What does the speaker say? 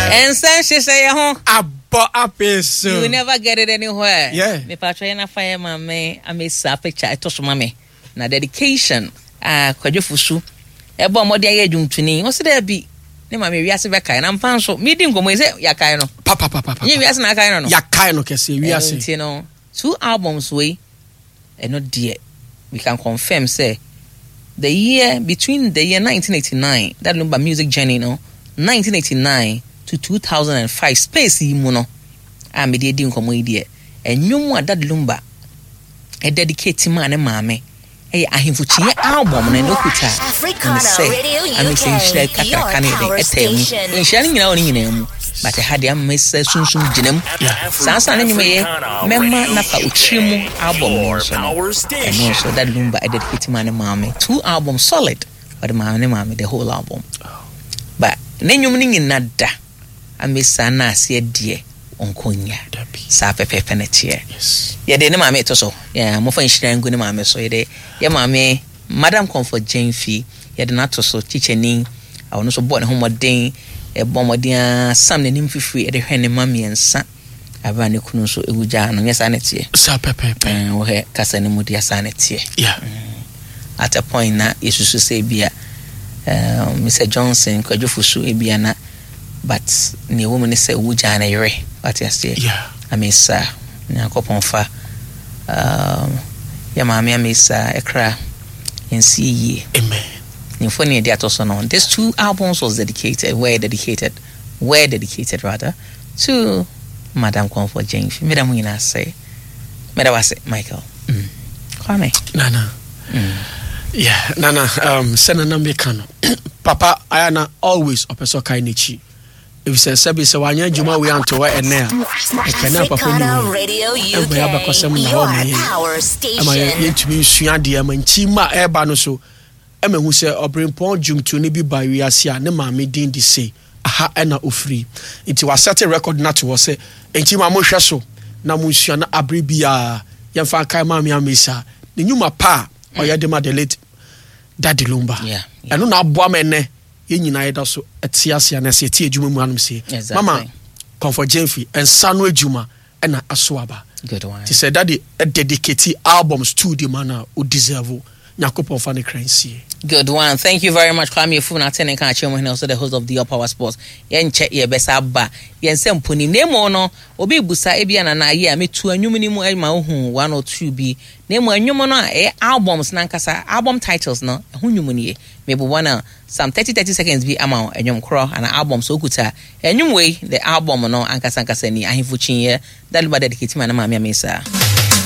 Ɛnsa nhyehyɛ yɛ ho. Abɔ apee so. You will never get it anywhere. Yeah. Mepatwa yɛn afa yɛ maame amesa picture ɛtɔ so ma me. Na dedication a Kwadwo Fosu ɛbɔ mmɔden ayɛ adwumtoni. Ɔsi dɛ bi ne maame wiase bɛkae na mfa nso medi nkɔmmɔ yi sɛ yɛakae no. Papapapa. Nyɛ wiase na akae no no. Yɛakae no kɛse wiase. Nti no two albums wei ɛno deɛ we can confirm sɛ the year between the year 1989 that Lumba music journey no 1989 to 2005 space yi mu no a mede adi nkɔmmɔ yi deɛ ɛnwom a Daddy Lumba ɛdedicate maa ne maame ɛyɛ Ahemfo Kyinyɛ album no ɛna okuta ne sɛ amesɛ nhyira kakraka no yɛ den ɛtaa mu nhyira no nyinaa wɔ ne nyinaa mu but ɛha deɛ amesɛ sunsum gyina mu saa nso na ne nnwom yɛ mɛma nafa otiri mu album no nso no ɛno nso Daddy Lumba ɛdedicate maa ne maame two albums solid ɔde maame ne maame the whole album but ne nnwom no nyina da Amesa no aseɛ deɛ ɔnkɔ nnya. Saa pɛpɛɛpɛ na ɛteɛ. Yɛde ne maame to so. Mofa nhyira ngu ne maame so. Yɛde yɛ maame Madam Comfort Gyamfi yɛde no ato so. Tikyani a ɔno nso bɔ ne ho mmɔden, ɛbɔ mmɔden ara sam n'anim fifiri de hwɛ ne mma mmiɛnsa abere a ne kunu nso ewu gyaa no. Nyɛ saa na ɛteɛ. Saa pɛpɛɛpɛ. Wohwɛ kasa no mu deɛ saa na ɛteɛ. Yeah. At a point na yɛsusu sɛ ebia Mr. Johnson Kwadwo Fosu ebia na But nea ɛwɔ mu ne sɛ owu gyaa ne yere. Wate aseɛ? Yeah. Amesa, Nyankopɔn fa um, yɛ maame Amesa ɛkra nsie yie. Amen. Ne mfoni ɛde ato so no, these two albums was dedicated, were dedicated, were dedicated rather, to Madam Comfort Jane. Meda mo nyinaa ase. Meda wase, Michael. Mm. Kwame. Nana. Mm. Yeah, Nana, sɛ nana meka no, papa ayɛ na always ɔpɛ sɛ ɔkae n'akyi. Efisɛ sɛbi sɛ wanyɛ adwuma wei anto hɔ ɛnɛ a, ɛkɛ na papa ni hɔ. Ɛma yɛ abakɔsɛm na hɔ ma yɛn. Ɛma yɛntumi nsua adeɛ ma nkyi ma ɛreba no so. Ɛma hu sɛ ɔberempɔn dwomtoni bi ba wiase a ne maame din de sei. Aha ɛna ofiri. Nti wasɛte record no ato hɔ sɛ nti ma monhwɛ so na monsua na abere biara yɛmfa nkae Maame Amisa ne nnwuma pa a ɔyɛ de ma the late Daddy Lumba. Ɛno na aboa ma ɛnɛ yɛn nyinaa yɛda so te ase anaasɛ yɛte adwuma mu anom sie. Mama Comfort Gyamfi nsa no adwuma ɛna aso aba. Te sɛ Daddy dedicate albums too de ma no a o deserve. Nyankopɔn fa ne kra nsie. Good one thank you very much Kwame Afum na ate ne nka akyerɛ mu hene also the host of the Power Sports yɛnkyɛ yɛbɛsa aba yɛn sɛ mponim na emu no obi busa ebi a nana ayɛ a metu anwom no mu ma ohu one or two bi na emu anwom no a ɛyɛ albums nankasa album titles no ɛho nwom nie mebobɔ no some 30 30 seconds bi ama wo anwom korɔ ana album so okuta anwom wei the album no ankasa ankasa ni Ahemfo Kyinyɛ Daluba dedicate ma ne maame Amisa.